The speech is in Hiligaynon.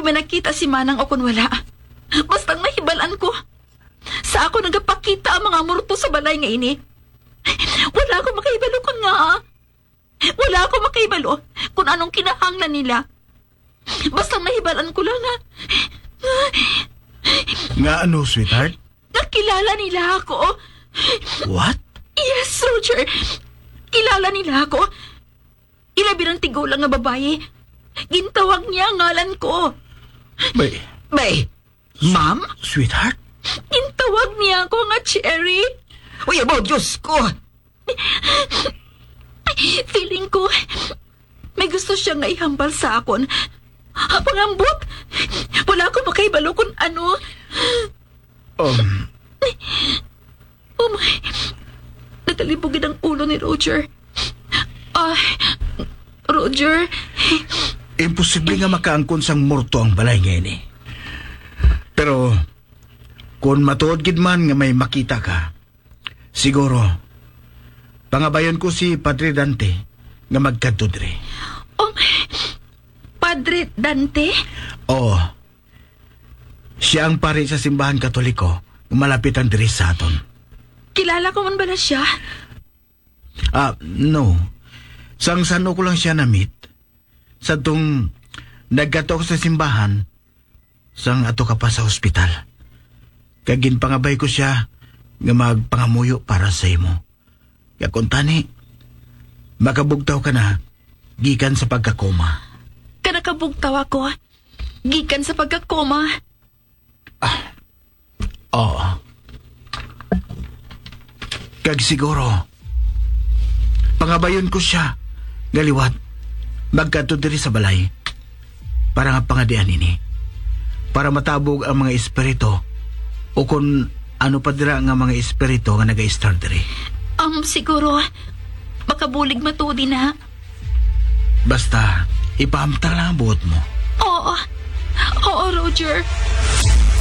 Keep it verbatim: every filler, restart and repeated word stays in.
may nakita si Manang o kon wala. Basta ang nahibalan ko, sa ako nagapakita ang mga morto sa balay nga ini. Wala ako makahibalo kon nga. Wala ako makahibalo kung anong kinahanglan nila. Basta ang nahibalan ko lang nga, Nga ano, sweetheart? Nakilala nila ako. What? Yes, Roger. Kilala nila ako. Ilabi ng tigulang nga babayi. Gintawag niya ang ngalan ko. Bay, Bay, ma'am? Sweetheart? Gintawag niya ako nga Cherry. Uy, abo, Diyos ko. Feeling ko, may gusto siya nga ihambal sa akon. Pangambot, wala ko makahibalo kung ano. Um, Oh my, nagalibog gid ang ulo ni Roger. Ah, Roger, Imposible nga makaangkon sang morto ang balay nga ini. Pero, kung matuod gid man nga may makita ka, siguro, pangabayon ko si Padre Dante nga magkadto diri. Oh, Padre Dante? Oo. Siya ang pari sa simbahan Katoliko nga malapitan diri sa aton. Kilala ko man bala siya? Ah, no. Sang san-o ko lang siya na-meet. Sa tong nagkadto sa simbahan, sang ato ka pa sa ospital. Kag ginpangabay ko siya nga magpangamuyo para sa imo. Kag kuntani, makabugtaw ka na gikan sa pagkakoma. Kanakabugtaw ako. Gikan sa pagkakoma. Oo. Kag siguro, pangabayon ko siya nga liwat magkadto diri sa balay para nga pangadian ini, para matabog ang mga espiritu o kon ano pa dira nga mga espiritu nga nagaistar diri. Um, siguro, makabulig matuod na. Basta, ipahamtang lang ang buot mo. Oo. Oo, Roger.